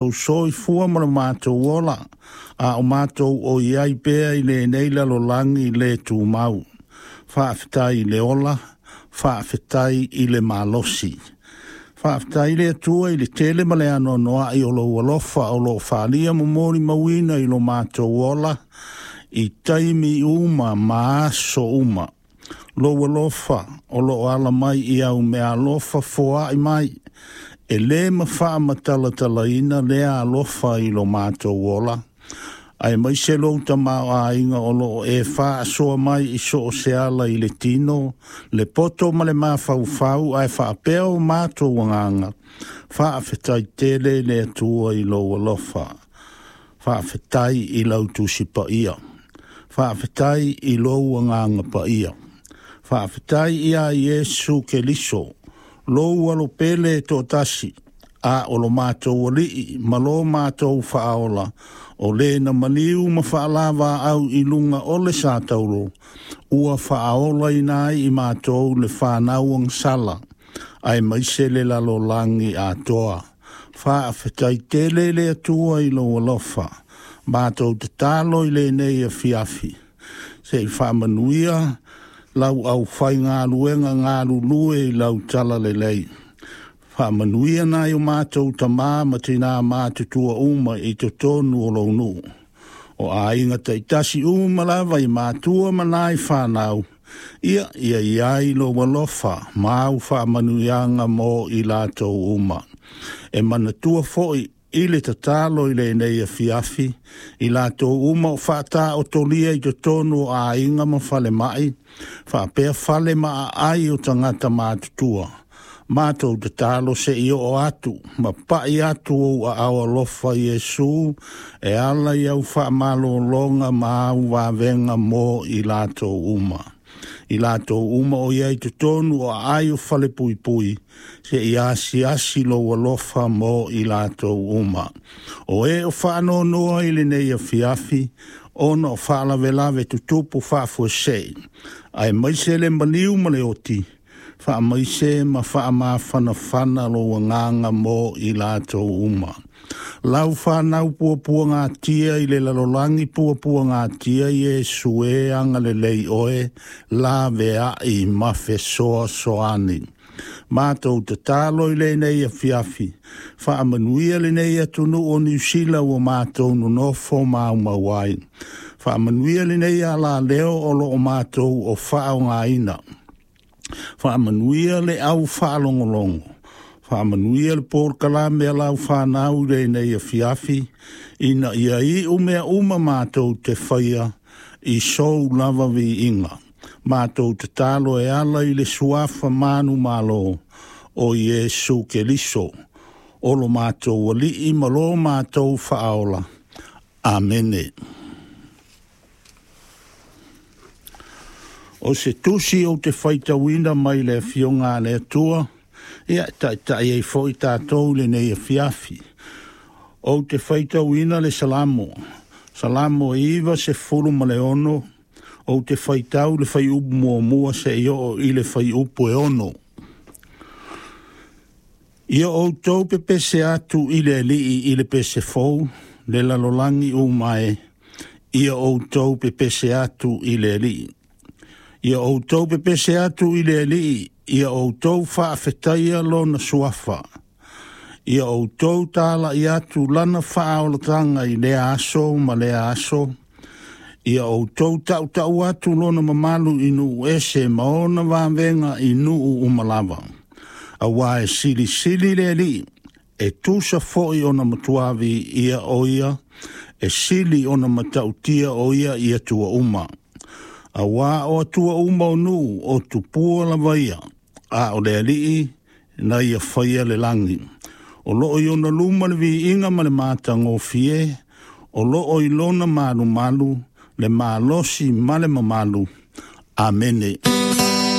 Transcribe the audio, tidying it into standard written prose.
Soifua ma le matou ola, a o matou o i ai pea i lenei lalolagi le tumau. Faafetai i le ola, faafetai i le malosi. Faafetai i le Atua i le tele ma le anoanoai o lou alofa o lo o faaalia ma molimauina i lo matou ola i taimi uma ma aso uma. Lou alofa o lo o ala mai i au meaalofa foai mai, e lē mafaamatalatalaina lea alofa i lo matou ola, aemaise lou tamaoaiga o lo o e faasoa mai i so o se ala i le tino, le poto ma le mafaufau ae faapea o matou agaga. Faafetai tele i le Atua i lou alofa. Faafetai i lau Tusi Paia. Faafetai i lou Agaga Paia. Faafetai iā Iesu Keliso, lou Alo pele e toatasi, a o lo matou Alii ma lo matou Faaola, o le na maliu ma faalavaau i luga o le satauro, ua faaolaina ai i matou le fanau agasala, aemaise le lalolagi atoa. Faafetai tele i le Atua i lou alofa. Matou tatalo i lenei afiafi, se i faamanuia lau aufaigaluega galulue i lau talalelei. Faamanuia nai o matou tamā ma tinā matutua uma i totonu o lou nuu. O aiga taitasi uma lava i matua ma nai fanau, ia ia i ai lou alofa ma au faamanuiaga mo i latou uma. E manatua foi i le tatalo i lenei afiafi, i latou uma o faataotolia i totonu o aiga ma falemai, faapea fale ma aai o tagata matutua. Matou tatalo se i oo atu ma pai atu ou aao alofa Iesu e ala i au faamalologa ma au vavega mo i latou uma. I latou uma o i ai i totonu o aai o falepuipui, se i asiasi lou alofa mo i latou uma. O e o faanoanoa i lenei afiafi, ona o faalavelave tutupu faafuasei, aemaise le maliu ma le oti, faamaise ma faamafanafana lou agaga mo i latou uma. Lau fanau puapuagatia i le lalolagi puapuagatia Iesu e agalelei oe, laveai ma fesoasoani. Matou tatalo i lenei afiafi, faamanuia lenei atunuu o Niu Sila ua matou nonofo maumau ai. Faamanuia lenei alaleo o lo o matou o faaaogaina. Faamanuia le au faalogologo. Faamanuia le polokalame a lau fanau i lenei afiafi, ina ia iu mea uma matou te faia i sou lava viiga. Matou tatalo e ala i le suafa manumalo o Iesu Keliso, o lo matou Alii ma lo matou Faaola. Amene. O se tusi ou te faitauina mai le Afioga a le Atua, ia e taitai ai foi tatou i lenei afiafi. Ou te faitauina le Salamo, Salamo 96, ou te faitau le fuaiupu muamua seia oo i le fuaiupu e 6. Ia outou pepese atu i le Alii i le pese fou, le lalolagi uma e, ia outou pepese atu i le Alii. Ia outou pepese atu i le Alii, ia outou faafetaia lona suafa. Ia outou talai atu lana faaolataga i lea aso ma lea aso. Ia outou tautau atu lona mamalu i nuu ese ma ona vavega i nuu uma lava. Auā e silisili le Alii, e tusa foi ona matua viia o ia, e sili ona matautia o ia i atua uma. Auā o atua uma o nuu o tupua lava ia, a o le Alii na ia faia le lagi. O loo i ona luma le viiga ma le matagofie, o loo i lona malumalu le malosi ma le mamalu. Amene.